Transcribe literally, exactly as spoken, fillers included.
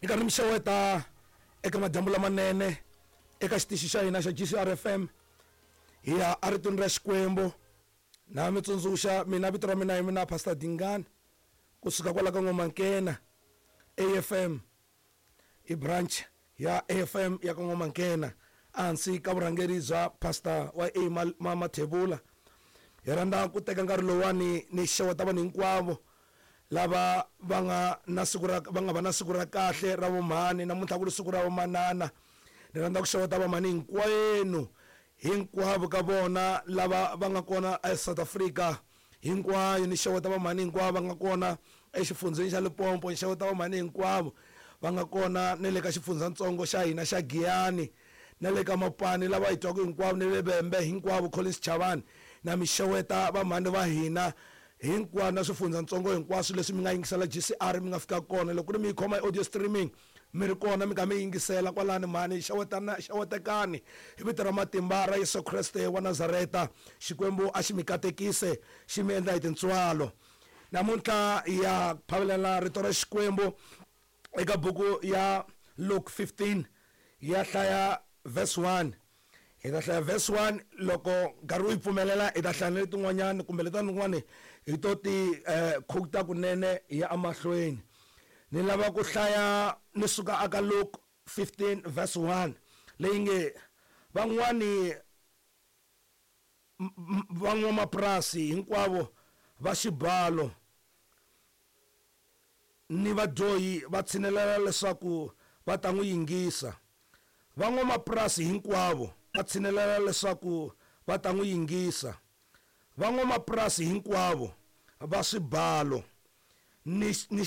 Ni karhi mi xeweta eka madyambu lamanene eka xitichi xa hina xa G C R F M. Hi ya eritweni ra Xikwembu. Na mi tsundzuxa, mina vito ra mina hi mina Pastor Dingani, kusuka kwala ka N'wamankena A F M, i branch ya A F M ya ka N'wamankena, ehansi ka vurhangeri bya Pastor wa A Ma- Mathebula. Hi rhandza ku teka nkarhi lowani ni xeweta vanhu hinkwavo lava va nga na siku ra va nga va na siku ra kahle ra vumhani. Namuntlha ku ri siku ra vamanana. Ni rhandza ku xeweta vamhani hinkwenu, hinkwavo ka vona lava va nga kona eSouth Africa hinkwayo. Ni xeweta vamhani hinkwavo va nga kona exifundzheni xa Limpopo. Ni xeweta vamhani hinkwavo va nga kona na le ka xifundzatsongo xa hina xa Giyani, na le ka Mapani, lava hi twaka hinkwavo, ni le Vhembe hinkwavo, Collins Chavani. Na mi xeweta vamhani va hina hinkwavo na swifundzatsongo hinkwaswo leswi mi nga yingisela G C R, mi nga fika kona. Loko ku ri mi yi khoma hi audio streaming, mi ri kona, mi kha mi yingisela kwalani, mhani, xewetana, xewetekani hi vito ra matimba ra Yesu Kreste wa Nazareta. Xikwembu a xi mi katekise, xi mi endla hi tintswalo. Namuntlha hi ya phavelela rito ra Xikwembu eka buku ya Luke fifteen. Hi ya hlaya verse one. Hi ta hlaya verse one. Loko nkarhi wu yi pfumelela, hi ta hlaya na letin'wanyani kumbe letin'wani hi to ti eh, quota kunene. Hi ya emahlweni. Ni lava ku hlaya ni suka aka Luke fifteen verse one, leyi nge: van'wani van'wamapurasi hinkwavo va xibalo ni vadyohi va tshinelela leswaku va ta n'wi yingisa. Van'wamapurasi hinkwavo va tshinelela leswaku va ta n'wi yingisa. Van'wamapurasi hinkwavo va swibalo ni ni